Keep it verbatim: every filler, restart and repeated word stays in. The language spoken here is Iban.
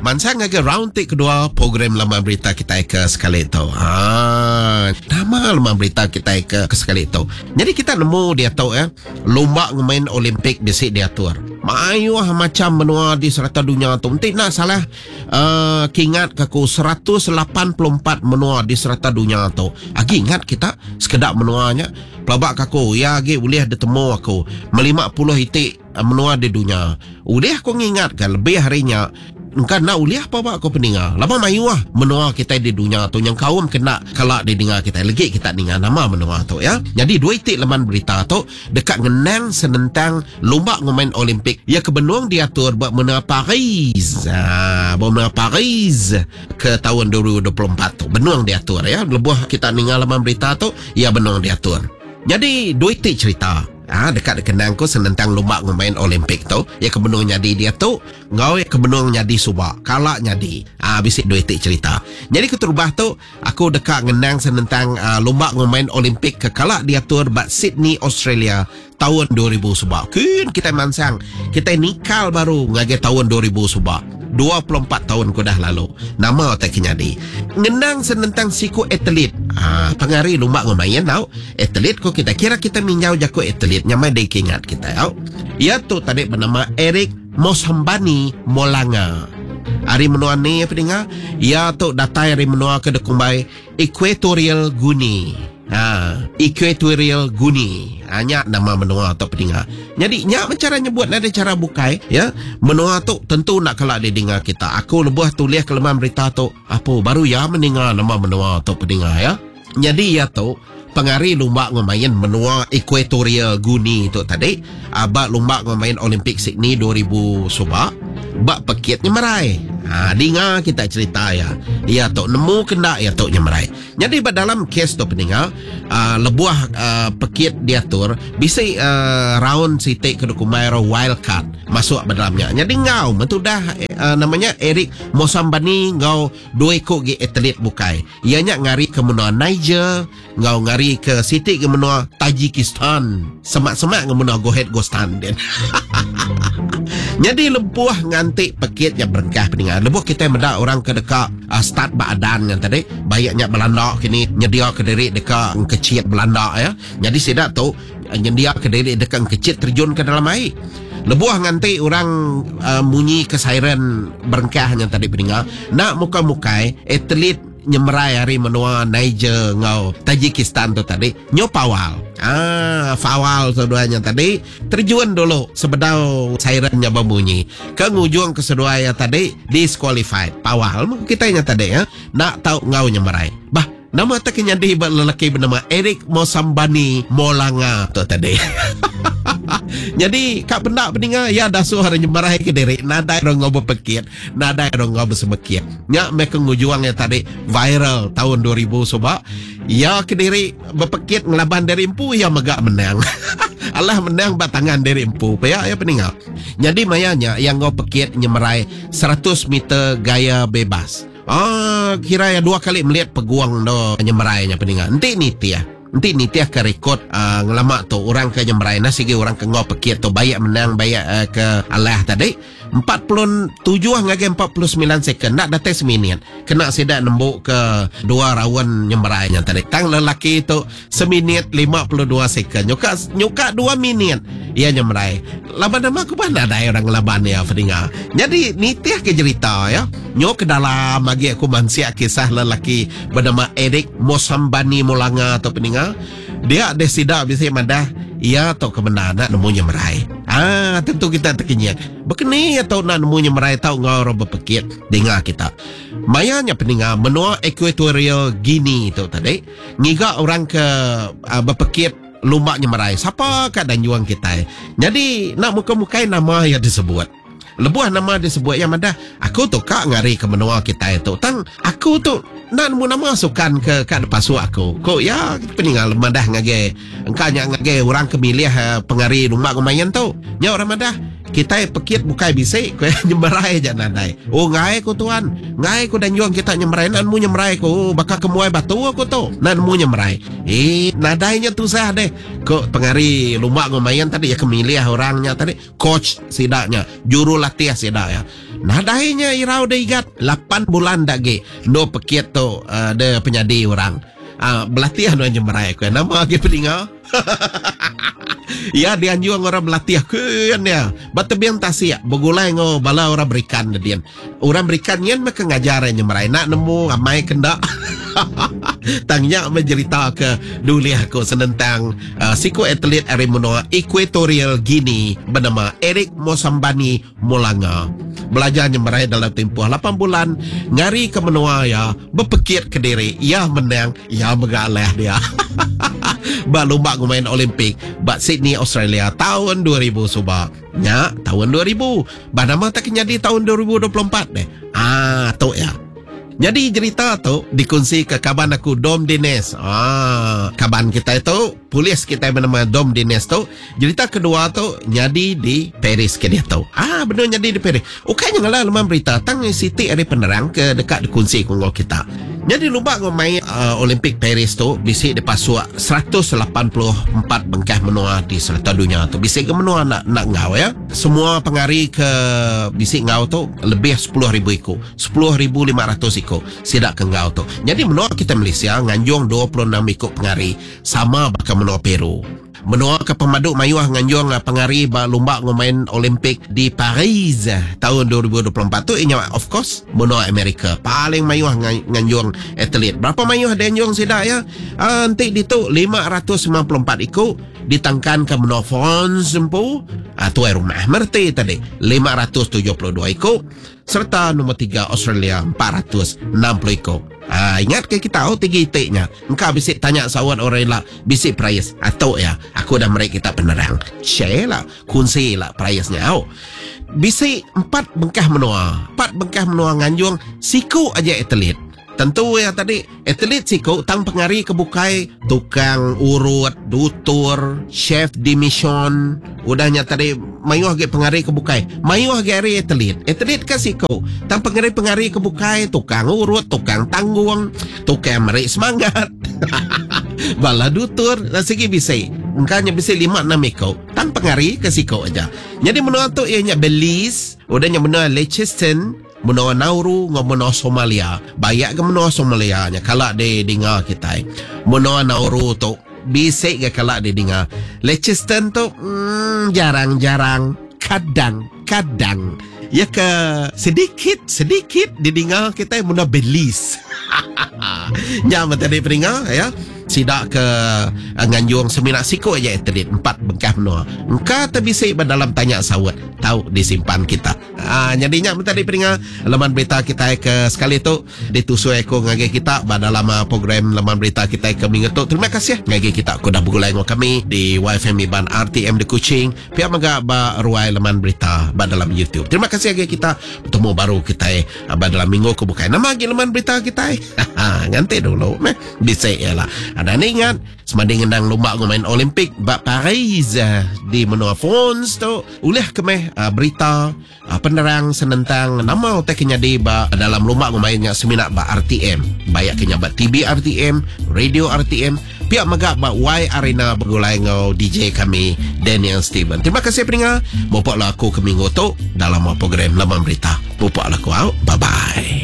Mansang ngagai round ti kedua program Laman Berita kita ke sekali tu. Ha, nama Laman Berita kita ke, ke sekali tu. Jadi kita nemu dia tu ya, lumba ngemain Olimpik bisi diatur. Mayuh macam menua di serata dunia tu. Enti nak salah uh, kingat ke aku seratus lapan puluh empat menua di serata dunia tu. Agi ingat kita sekedak menuanya. Pelabak aku ya agi boleh ditemu aku melima puluh itik menua di dunia. Ulih aku ngingatkan lebih harinya. Engka nak ulih apa bak aku peninga. Lama mayuh menua kita di dunia tu yang kaum kena kalak didengar kita. Legi kita dengar nama menua tu ya. Jadi dua itik laman berita tu dekat ngenang senentang lumba ngemain Olimpik ya kebenung diatur buat menua Paris. Ha, buat menua Paris ke tahun dua ribu dua puluh empat tu. Benung diatur ya. Lebuh kita dengar laman berita tu ya benung diatur. Jadi dua itik cerita. Ha, dekat kenang ku senentang lumba ngemain Olimpik tu ya kebenung nyadi dia tu ngau ya kebenung nyadi subak kalak nyadi. Ha, bisik dua itik cerita. Jadi keterubah tu aku dekat ngenang senentang uh, lumba ngemain Olimpik ke kalak diatur bak Sydney Australia tahun dua ribu subak. Kun kita mansang kita nikal baru ngagai tahun dua ribu subak. dua puluh empat tahun ku dah lalu. Nama tak kenyadi. Ngenang senentang siku atlet. Ha, pengari lumba ngemain tau. Atlet ko kita kira kita minjau jaku atlet nyamai dikingat kita tau. Ia tu tadi bernama Eric Mosambani Molanga. Hari menua ni apa dengar? Ia tu datai hari menua ke dekumbai Equatorial Guinea. Ha, Equatorial Guinea. Ha, nyak nama menua atau pendengar. Jadi nyak cara nyebut ada cara bukai ya. Menua tu tentu nak kelak didengar kita. Aku lebuh tulis kelemahan berita tu apa baru ya mendengar nama menua atau pendengar ya. Jadi ya tu pengari lumba ngemain menua Equatorial Guinea tu tadi abak lumba ngemain Olimpik Sydney dua ribu subak bak pekit nyemerai. Ha, dengar kita cerita ya. Ya tok nemu kena ya tok nyemerai. Jadi dalam kes tu pendengar, uh, lebuah uh, pekit diatur bisi uh, round sitik ke dokumen wild card masuk dalamnya. Jadi ngau mentudah uh, namanya Eric Mosambani ngau dua ikut gi atlet bukai. Ianya ngari ke menua Niger, ngau ngari ke sitik ke menua Tajikistan. Semak-semak ke menua Gohet Gostan den. Jadi lebuh ngantik pekit yang berengkah pendengar. Lebuh kita mendak orang ke dekat uh, start badan yang tadi bayaknya Belanda kini nyedia ke diri dekat kecil Belanda ya. Jadi sidak tu nyedia ke diri dekat kecil terjun ke dalam air. Lebuh nganti orang uh, bunyi ke siren berengkah yang tadi pendengar. Nak muka-mukai atlet nyemerai hari menua Niger ngau Tajikistan tu tadi nyo pawal. Ah, fawal seduanya tadi terjun dulu sebedau sirennya berbunyi. Ke ngujung ke seduanya tadi disqualified. Pawal kita nya tadi ya. Nak tahu ngau nyemerai. Bah, nama tak nyadi lelaki bernama Eric Mosambani Molanga tu tadi. Jadi kak pendak pendengar ya dah suruh hari nyemerai ke diri nadai orang ngau berpekit nadai orang ngau bersemekit nyak mereka ngujuang yang tadi viral tahun dua ribu sebab ya ke diri berpekit ngelaban dari empu ya megak menang. Allah menang bat tangan dari empu ya ya pendengar. Jadi mayanya yang ngau pekit nyemerai seratus meter gaya bebas. Ah, kira ya dua kali melihat peguang do nyemerainya pendengar. Enti ni tia. Nanti ni tiah ke rekod uh, ngelamak tu orang ke nyemerai nasi orang ke ngau pekit tu bayak menang bayak uh, ke alah tadi empat puluh tujuh ngagai empat puluh sembilan second nak datang seminit kena sidak nembuk ke dua rawan nyemerainya tadi tang lelaki tu seminit lima puluh dua second nyuka nyuka dua minit ia nyemerai laban nama aku pun ada orang ngelaban ya pendengar. Jadi ni tiah ke cerita ya nyok ke dalam lagi aku mansia kisah lelaki bernama Eric Mosambani Molanga atau pendengar. Dia ada sidak bisa madah ia atau kebenaran nak nemu nyemerai. Ah, tentu kita terkenyit. Bekeni atau nak nemu nyemerai tau ngau orang berpekit dengar kita. Mayanya pendengar menua Equatorial Guinea tu tadi ngiga orang ke uh, berpekit lumba nyemerai. Siapa kat dan juang kita. Jadi nak muka-mukai nama yang disebut. Lebuh nama disebut yang madah aku tu kak ngari ke menua kita itu. Tang aku tu nak nemu nama sukan ke kat depan aku. Kok ya peninggal madah ngage engkau nya ngage orang ke milih uh, pengari lumba kemayan tu. Nya orang madah Kita pekit bukai bisik ku nyemerai aja nadai. Oh ngai ku tuan, ngai ku danjuang kita nyemerai nan mu nyemerai ku bakal kemuai batu aku tu. Nan mu nyemerai. Eh nadainya tusah deh. Ko pengari lumba ngumayan tadi ya kemilih orangnya tadi coach sidaknya, juru latih sidak ya. Nadainya irau deh igat lapan bulan dagi no pekit tu uh, de penyadi orang. Ah uh, berlatih anu nyemerai ku. Nama agi peninga. Ya dianjung orang berlatih ke dia. Batebing tasik bergulai ngau bala orang berikan dia. Orang berikan nyen mereka ngajar nyemerai nak nemu ramai kendak. Tangnya mencerita ke duliah aku senentang uh, siku atlet ari menua Equatorial Guinea bernama Eric Mosambani Mulanga. Belajar nyemerai dalam tempoh lapan bulan ngari ke menua ya berpekit ke diri ya menang ya megalah dia. Ba lumba main Olimpik ba Sydney Australia tahun dua ribu suba. Nya tahun dua ribu. Ba nama tak jadi tahun dua ribu dua puluh empat deh. Ah tu ya. Jadi cerita tu dikongsi ke kaban aku Dom Dines. Ah, kaban kita itu polis kita bernama Dom Dines tu. Cerita kedua tu jadi di Paris ke dia tu. Ah, benar jadi di Paris. Okey janganlah leman berita tang Siti ada penerang ke dekat dikongsi dengan kita. Jadi lumba main uh, Olimpik Paris tu bisik dipasuk seratus lapan puluh empat bengkah menua di serata dunia tu. Bisik ke menua nak nak ngau ya. Semua pengari ke bisik ngau tu lebih sepuluh ribu iko. sepuluh ribu lima ratus iko sidak ke ngau tu. Jadi menua kita Malaysia nganjung dua puluh enam iko pengari sama bakal menua Peru. Menua ke pemaduk mayuah nganjung pengari ba lumba main Olimpik di Paris tahun dua ribu dua puluh empat tu inya of course menua Amerika paling mayuah nganjung atlet. Berapa mayuh dia nganjung sidak ya? Uh, nanti di tu lima ratus sembilan puluh empat iko ditangkan ke menua France empu uh, tuai rumah merti tadi lima ratus tujuh puluh dua iko serta nombor tiga Australia empat ratus enam puluh iko. Ah, ingat ke kita oh tiga itiknya. Engkau bisik tanya sawat orang lah bisik price atau ya aku dah merek kita penerang. Share lah, kunci lah price-nya. Oh. Bisik empat bengkah menua. Empat bengkah menua nganjung siku aja atlet. Tentu ya tadi atlet siku tang pengari kebukai tukang urut, dutur, chef di mission. Udahnya tadi mayuh ge pengari kebukai. Mayuh ge ari atlet. Atlet ke siku tang pengari-pengari kebukai tukang urut, tukang tanggung, tukang merik semangat. Bala dutur dan segi bisik. Engkaunya bisik lima enam eko. Tang pengari ke siku aja. Jadi menua tu ianya Belize, udahnya menua Liechtenstein, menua Nauru ngau menua Somalia. Bayak ke menua Somalia nya kalak di dengar kita. Menua Nauru tu bisik ke kalak di dengar. Liechtenstein tu hmm, jarang-jarang, kadang-kadang ya ke sedikit sedikit didengar kita menua Belize. Nya tadi peringa ya. Sidak ke nganjung seminak siku aja atlet empat bengkah menua. Engka terbisik dalam tanya sawat tahu disimpan kita. Ah jadinya tadi peringa laman berita kita ke sekali tu ditusui aku ngagi kita dalam program laman berita kita ke minggu tu. Terima kasih ngagi kita ku dah bergulai dengan kami di Y F M Iban R T M di Kuching. Pihak mega ba ruai laman berita ba dalam YouTube. Terima kasih ngagi kita bertemu baru kita ba dalam minggu ke bukai. Nama lagi laman berita kita. Nganti dulu meh bisik ialah. Ada ni ingat semanding ngendang lumba main Olimpik bak Paris di menua France tu ulih kemeh uh, berita uh, penerang senentang nama utai kenyadi ba dalam lumba mainnya seminak bak R T M bayak kenya bak T V R T M radio R T M pihak megak bak Y Arena bergulai ngau D J kami Daniel Steven. Terima kasih pendengar. Bopok lah aku ke minggu tu dalam program Laman Berita. Bopok lah aku out. Bye bye.